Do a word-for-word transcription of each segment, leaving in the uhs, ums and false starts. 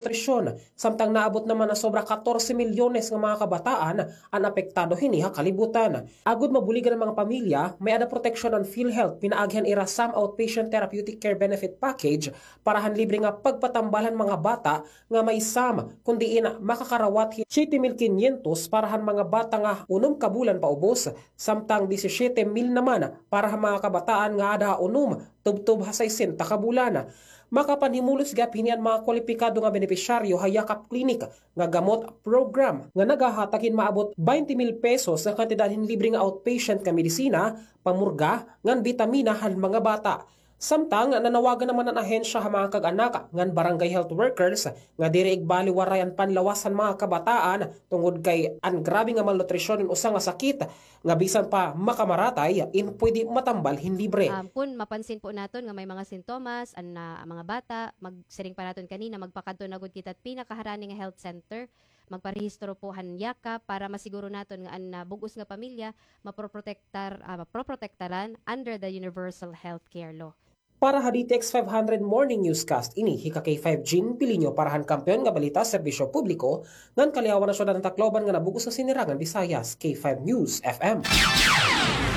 nutrisyon, samtang naabot naman nga sobra katorse milyones nga mga kabataan an apektado hini ha kalibutan. Agod mabuligan an mga pamilya, may-ada proteksyon an PhilHealth pinaagi han ira SAM Outpatient Therapeutic Care Benefit Package para han libre nga pagpatambal han mga bata nga may SAM, kun diin makakarawat hin siyete mil kinyentos para han mga bata nga unom ka bulan paubos, samtang disisiyete mil naman para ha mga kabataan nga aada ha unom tubtob ha sesenta ka bulan. Makapanhimulos gihap hini an mga kwalipikado nga benepisyaryo ha Yakap Clinic nga gamot program nga nagahatag hin maabot baynte mil pesos nga kantidad hin libre nga outpatient nga medisina, pamurga, ngan bitamina han mga bata. Samtang nanawagan naman an ahensya ha mga kag-anak ngan barangay health workers nga diri igbaliwaray an panlawas han mga kabataan tungod kay an grabe nga malnutrisyon in usa nga sakit nga bisan pa makamaratay, in pwede matambal hin libre. Um, kun mapansin po naton nga may mga sintomas an, ah, mga bata, mag-, siring pa naton kanina, magpakadto na gud kita pinakaharani nga health center, magparehistro po han Yakap para masiguro naton nga an, ah, bug-os nga pamilya maproprotektar, ah, maproprotektaran under the Universal Health Care Law. Para ha D T X five hundred Morning Newscast, ini hi ka K five Jean Pilinyo para han Kampiyon nga Balita, Serbisyo Publiko, ngan Kaliyawan Nasyonal han Tacloban ngan han bug-os nga Sinirangan Visayas, K five News F M.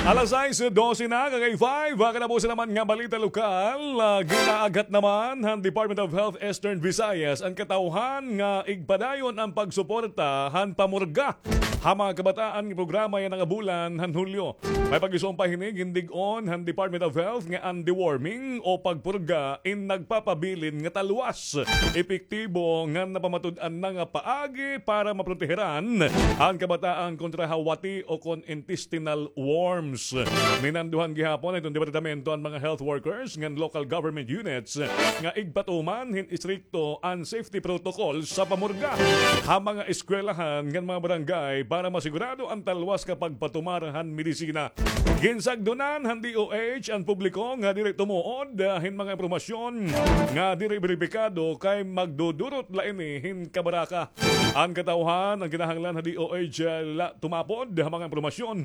Alas sais dose na, ka K five, ha katapusan naman nga balita lokal, ah, ginaaghat naman han Department of Health Eastern Visayas an katawhan nga igpadayon an pagsuporta han pamurga ha mga kabataan nga programa yana nga bulan han Hulyo. May pag-isumpay hini, gindig-on han Department of Health nga an deworming o pagpurga in nagpapabilin nga talwas. Epektibo nga napamatud-an na nga paagi para maproteheran an kabataan kontra ha wati o kon intestinal worms. Minanduhan gihapon hiton departamento an mga health workers ngan local government units nga igpatuman hin istrikto an safety protocol sa pamurga ha mga eskwelahan ngan mga barangay para masigurado an talwas nga pagpatumar han medisina. Ginsagdonan han D O H an publiko nga diri tumuod, ah, hin mga impormasyon nga diri beripikado kay magdudurot la ini hin kabaraka. An katawhan an kinahanglan ha D O H la tumapod ha mga impormasyon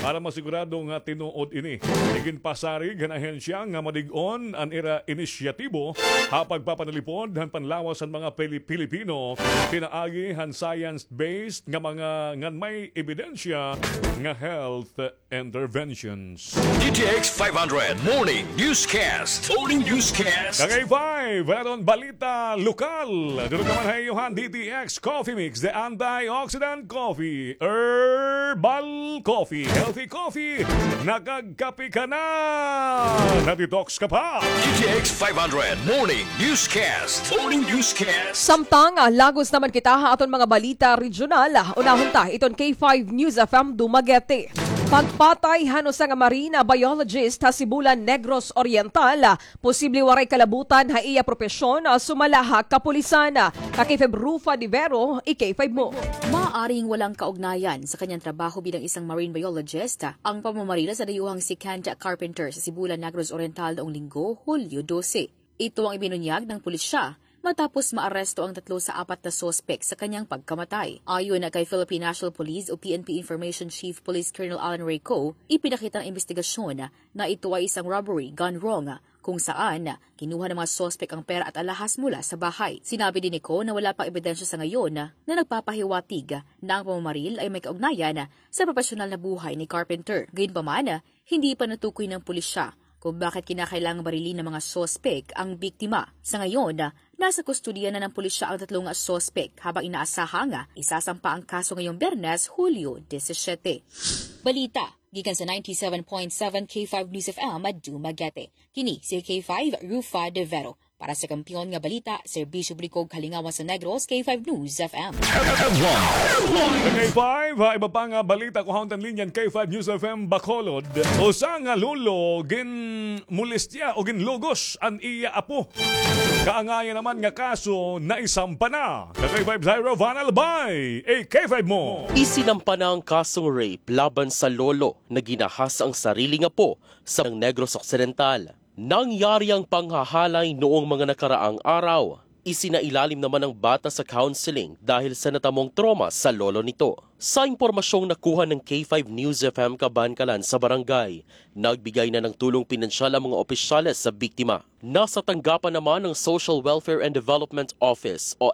para masigurado nga tinuod ini. Iginpasarig han ahensya nga madig-on an ira inisyatibo ha pagpapanalipod han panlawas han mga Pili-, Pilipino pinaagi han science-based nga mga ngan may ebidensya nga health interventions. D T X five hundred Morning Newscast. Morning Newscast. Ka K five, wala ron balita lokal. Durog naman ha iyo han D T X Coffee Mix, the antioxidant coffee, herbal coffee, healthy coffee. Nakagkape ka na, na-detox ka pa. D T X five hundred Morning Newscast. Morning Newscast. Samtang, ah, lagos naman kita ha aton mga balita regional, ah, unahon ta iton K five News F M Dumaguete. Pagpatay han usa nga marine biologist ha Sibulan, Negros Oriental, ah, posible waray kalabutan ha iya propesyon, ah, sumala ha kapulisan. Ka K five Rufa de Vero, i-K five mo. Maaaring walang kaugnayan sa kanyang trabaho bilang isang marine biologist ang pamamaril sa dayuhang si Kent Carpenter sa Sibulan, Negros Oriental noong Linggo, Hulyo dose. Ito ang ibinunyag ng pulisya matapos maaresto ang tatlo sa apat na suspek sa kanyang pagkamatay. Ayon na kay Philippine National Police o P N P Information Chief Police Colonel Alan Reyco, ipinakita ng imbestigasyon na ito ay isang robbery gone wrong, kung saan kinuha ng mga suspek ang pera at alahas mula sa bahay. Sinabi din ni Co na wala pang ebidensya sa ngayon na nagpapahiwatig na ang pamamaril ay may kaugnayan sa propesyonal na buhay ni Carpenter. Gayunpaman, hindi pa natukoy ng pulisya kung bakit kinakailangang barilin ng mga suspek ang biktima. Sa ngayon, nasa kustodiya na ng pulisya ang tatlong suspek habang inaasahang isasampa ang kaso ngayong Biyernes, Hulyo disisyete. Balita gikan sa ninety-seven point seven K five News F M Dumaguete. Kini si K five Rufa de Vero. Para sa Kampiyon nga Balita, Serbisyo Publiko, Kalingawan sa Negros, K five News F M. K five, ha, iba pa nga balita, kuhaon ta an linya han K five News F M Bacolod. Usa nga lolo ginmolestya o ginlugos an iya apo. Kaangaya naman nga kaso naisampa na. Ka K five Zairo Van Albay, i-K five mo. Isinampa na ang kasong rape laban sa lolo na ginahasa ang sarili nga apo sa Negros Occidental. Nangyari ang panghahalay noong mga nakaraang araw. Isinailalim naman ang bata sa counseling dahil sa natamong trauma sa lolo nito. Sa impormasyong nakuha ng K five News F M kabankalan sa barangay, nagbigay na ng tulong pinansyal ang mga opisyales sa biktima. Nasa tanggapan naman ng Social Welfare and Development Office o